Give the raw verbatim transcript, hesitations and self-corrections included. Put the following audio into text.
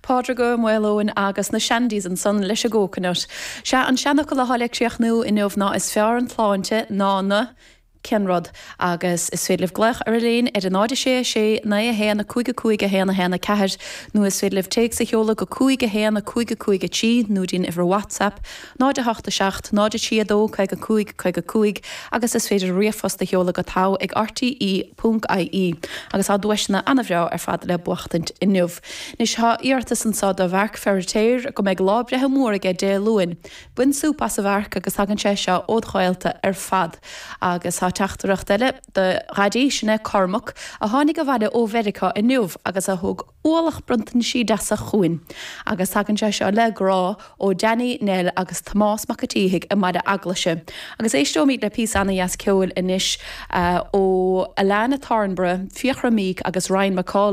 Pádraig Ó Maoileoin agus na Shandies ansan leis an gCoconut. Sé an seanfhocal atá le críochnú inniu ná is fearr an tsláinte ná na cén rud agus is féidir libh glaoch ar an líne ar a náid sé sé naoi a haon a cúig a cúig a haon a haon a ceathair nó is féidir libh téacs a sheoladh go cúig a haon a cúig a cúig a trí nó dtí'n uimhir WhatsApp náid a hocht a seacht náid a trí a dó caoga cúig caoga cúig agus is féidir ríomhphost a sheoladh go togha ag RTE ponc IE agus tá duaiseanna an-bhreá ar fad le buachtaint inniu. Anois tá iarratas anseo do Mharc Feiritéar go mbeidh lá breithe mór aige Dé Luain. Bain súp as a Mharc agus tagann sé seo ód ghaolta ar fad. Agus tá teachtaireacht eile do Dhaidí sin é Cormac a tháinig abhaile ó Mheiriceá inniu agus a thug ualach bronntaisí deasa chugainn. Agus tagann sé seo le grá ó Danny Nell agus Tomás Mac an tSíthigh i mBaile Eaglaise. Agus éisteoimid le píosa an-dheas ceoil anois uh, ó Alana Thornborough, Fiachra Meek agus Ryan McCall.